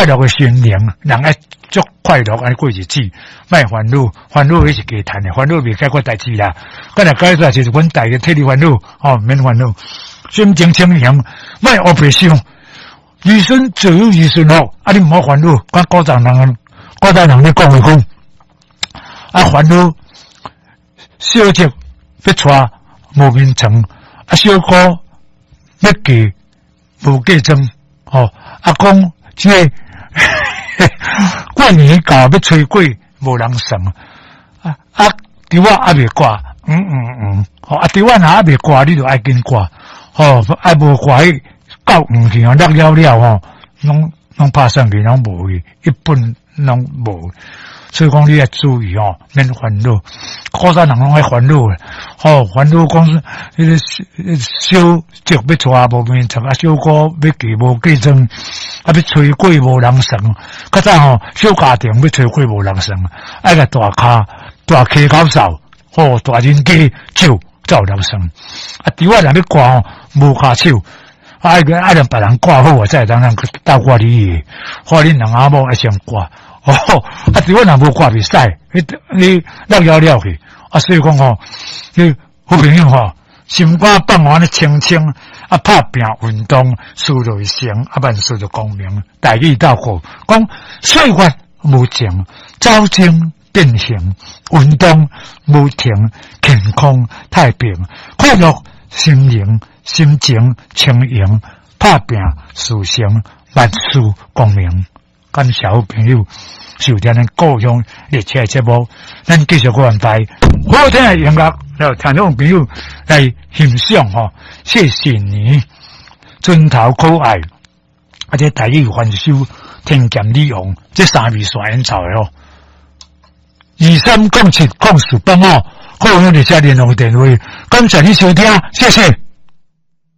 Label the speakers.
Speaker 1: 快樂的心靈，人愛足快樂按呢過日子，莫煩惱，煩惱彼是加趁的，煩惱袂解決代誌啦。敢若解決代誌，就阮代個替你煩惱，吼，免煩惱。心情清盈，莫烏白想。兒孫自有兒孫福，啊，你毋好煩惱。講古早人，古早人咧講的講，啊，煩惱小叔欲娶無眠床，啊，小姑欲嫁無嫁妝，吼，啊，講這個過年到欲炊粿無人算，啊啊，豬仔猶未掛，嗯嗯嗯，吼，啊，豬仔若猶未掛，你就愛緊掛，吼，啊無掛彼到黃去吼，落了了吼，攏攏拍散去，攏無去，一本攏無。所以講你愛注意吼，免煩惱。古早人攏愛煩惱，吼，煩惱講彼个小叔欲娶無眠床，啊，小姑欲嫁無嫁妝，啊，欲炊粿無人算。較早吼，小家庭欲炊粿無人算，愛共大跤大溪口掃，吼，大人家手才有人算。啊，豬仔若欲掛吼，無跤手，愛愛讓別人掛好啊，才會當人鬥掛你的。看恁兩翁仔某愛先掛。哦，啊，豬仔若無掛袂使，你你落了了去，啊，所以講吼，你好朋友吼，心肝放予按呢清清，啊，拍拚運動，事就會成，啊，萬事就光明，大義鬥好，講歲月無情，走精變形，運動無停，健康太平，快樂心靈，心情輕盈，拍拚事成，萬事光明。感謝好朋友收聽咱故鄉列車的節目，咱繼續閣安排好聽的音樂，來聽眾朋友來欣賞吼。謝謝你，磚頭可愛，啊，這台語翻首天劍女王，這三味線演奏的哦。23070485，好，用列車聯絡電話。感謝你收聽，謝謝。